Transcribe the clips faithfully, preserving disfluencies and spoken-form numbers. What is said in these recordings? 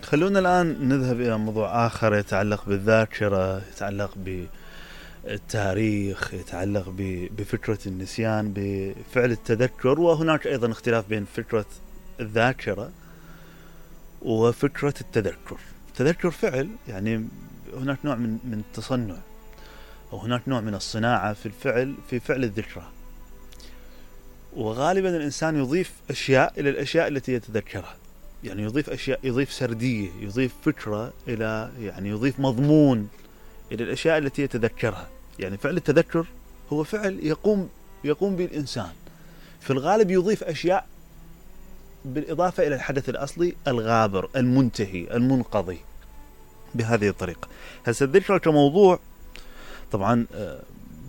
خلونا الآن نذهب إلى موضوع آخر يتعلق بالذاكرة، يتعلق بالتاريخ، يتعلق بفكرة النسيان، بفعل التذكر. وهناك أيضا اختلاف بين فكرة الذاكرة وفكرة التذكر. التذكر فعل، يعني هناك نوع من من التصنع، أو هناك نوع من الصناعة في الفعل، في فعل الذكرى. وغالبا الإنسان يضيف أشياء إلى الأشياء التي يتذكرها، يعني يضيف أشياء، يضيف سردية، يضيف فكرة إلى، يعني يضيف مضمون إلى الأشياء التي يتذكرها. يعني فعل التذكر هو فعل يقوم يقوم به الإنسان، في الغالب يضيف أشياء بالإضافة إلى الحدث الأصلي الغابر المنتهي المنقضي بهذه الطريقة. هسه الذكرى كموضوع، طبعا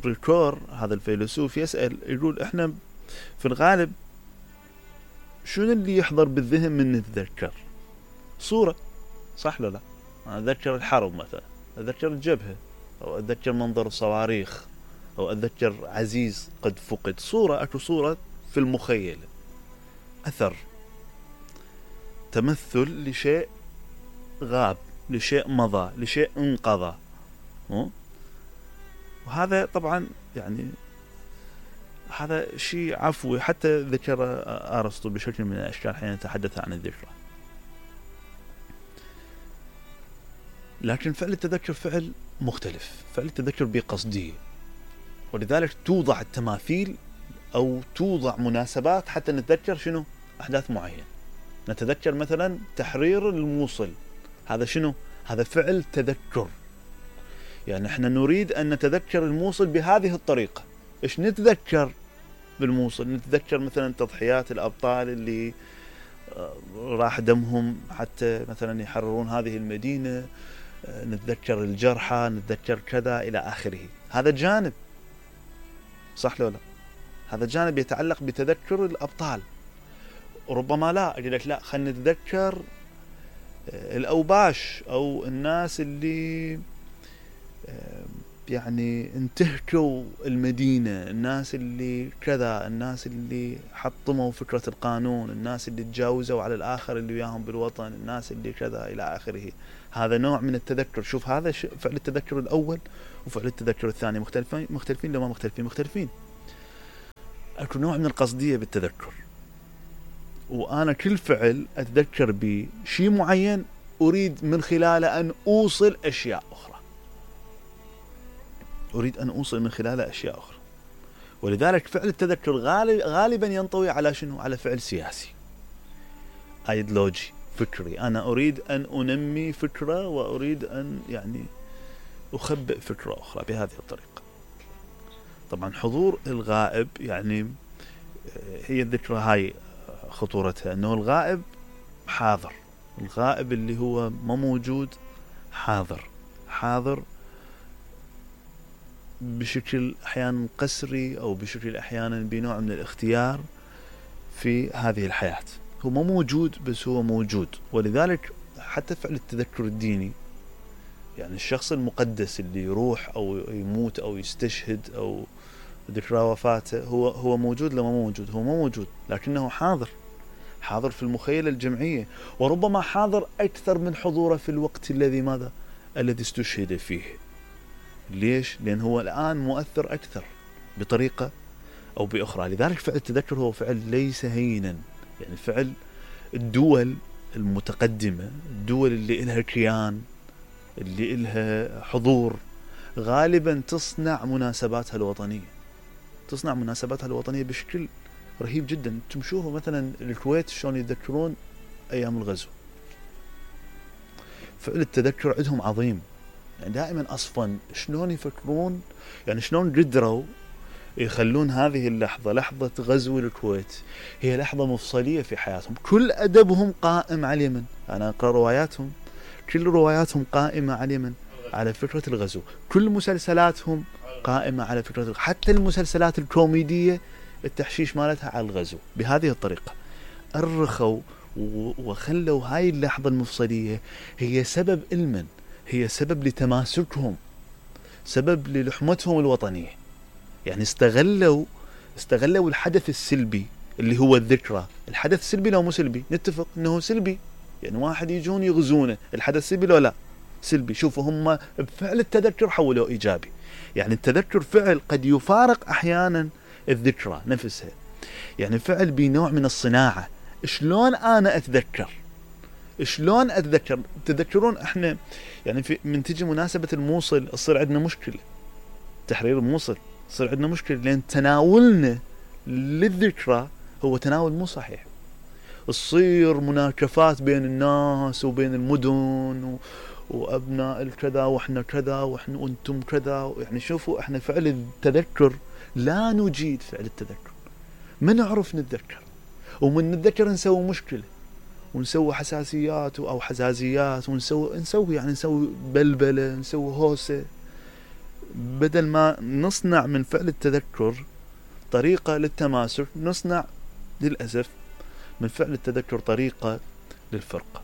بريكور هذا الفيلسوف يسأل، يقول إحنا في الغالب شنو اللي يحضر بالذهن من نتذكر؟ صورة، صح ولا لا؟ أنا أتذكر الحرب مثلا، أتذكر الجبهة، أو أتذكر منظر الصواريخ، أو أتذكر عزيز قد فقد. صورة، أكو صورة في المخيلة، أثر، تمثل لشيء غاب، لشيء مضى، لشيء انقضى. وهذا طبعا يعني هذا شيء عفوي، حتى ذكر أرسطو بشكل من الأشكال حين يتحدث عن الذكرى. لكن فعل التذكر فعل مختلف، فعل التذكر بقصدية، ولذلك توضع التماثيل أو توضع مناسبات حتى نتذكر شنو؟ أحداث معينة. نتذكر مثلا تحرير الموصل، هذا شنو؟ هذا فعل تذكر. يعني احنا نريد أن نتذكر الموصل بهذه الطريقة. إيش نتذكر بالموصل؟ نتذكر مثلا تضحيات الأبطال اللي راح دمهم حتى مثلا يحررون هذه المدينة، نتذكر الجرحى، نتذكر كذا إلى آخره. هذا جانب، صح لو لا؟ هذا جانب يتعلق بتذكر الأبطال. وربما لا أقول لك لا، خلينا نتذكر الأوباش أو الناس اللي يعني انتهكوا المدينة، الناس اللي كذا، الناس اللي حطموا فكرة القانون، الناس اللي تجاوزوا على الآخر اللي وياهم بالوطن، الناس اللي كذا إلى آخره. هذا نوع من التذكر. شوف، هذا فعل التذكر الأول وفعل التذكر الثاني مختلفين مختلفين لما مختلفين مختلفين. أكو نوع من القصدية بالتذكر، وأنا كل فعل أتذكر بشيء معين أريد من خلاله أن أوصل أشياء أخرى، أريد أن أوصل من خلاله أشياء أخرى. ولذلك فعل التذكر غالب غالبا ينطوي على شنو؟ على فعل سياسي، أيديولوجي، فكري. أنا أريد أن أنمي فكرة، وأريد أن يعني أخبئ فكرة أخرى بهذه الطريقة. طبعا حضور الغائب، يعني هي الذكرى هاي خطورتها، أنه الغائب حاضر، الغائب اللي هو ما موجود حاضر، حاضر بشكل أحيانا قسري، أو بشكل أحيانا بنوع من الاختيار في هذه الحياة. هو ما موجود بس هو موجود. ولذلك حتى فعل التذكر الديني، يعني الشخص المقدس اللي يروح أو يموت أو يستشهد أو ذكرى وفاته، هو هو موجود لما موجود، هو ما موجود، لكنه حاضر، حاضر في المخيلة الجمعية، وربما حاضر أكثر من حضوره في الوقت الذي ماذا؟ الذي استشهد فيه. ليش؟ لأن هو الآن مؤثر أكثر بطريقة أو بأخرى. لذلك فعل التذكر هو فعل ليس هينا. يعني فعل الدول المتقدمة، الدول اللي إلها كيان، اللي إلها حضور، غالبا تصنع مناسباتها الوطنية، تصنع مناسباتها الوطنية بشكل رهيب جدا. تمشوه مثلا الكويت شلون يتذكرون أيام الغزو. فعل التذكر عندهم عظيم، يعني دائما أصفا شلون يفكرون، يعني شلون قدروا يخلون هذه اللحظة، لحظة غزو الكويت، هي لحظة مفصلية في حياتهم. كل أدبهم قائم على اليمن. أنا أقرأ رواياتهم، كل رواياتهم قائمة على اليمن، على فكرة الغزو. كل مسلسلاتهم قائمة على فكرة الغزو. حتى المسلسلات الكوميدية التحشيش مالتها على الغزو. بهذه الطريقة أرخوا وخلوا هاي اللحظة المفصلية هي سبب علما، هي سبب لتماسكهم، سبب للحمتهم الوطنية. يعني استغلوا استغلوا الحدث السلبي اللي هو الذكرى. الحدث سلبي لو مو سلبي؟ نتفق انه سلبي، يعني واحد يجون يغزونه، الحدث سلبي لو لا؟ سلبي. شوفوا هم بفعل التذكر حولوه ايجابي، يعني التذكر فعل قد يفارق احيانا الذكرى نفسها، يعني فعل بنوع من الصناعة. شلون انا اتذكر؟ شلون اتذكر؟ تذكرون احنا يعني في من تجي مناسبة الموصل تصير عندنا مشكلة، تحرير الموصل تصير عندنا مشكلة، لان تناولنا للذكرى هو تناول مو صحيح. تصير مناكفات بين الناس وبين المدن و... وابناء الكذا واحنا كذا واحنا وانتم كذا. يعني شوفوا احنا فعل التذكر لا نجيد فعل التذكر، ما نعرف نتذكر، ومن نتذكر نسوي مشكلة ونسوي حساسيات او حزازيات ونسوي نسوي يعني نسوي بلبلة، نسوي هوسة، بدل ما نصنع من فعل التذكر طريقة للتماسك، نصنع للأسف من فعل التذكر طريقة للفرقة.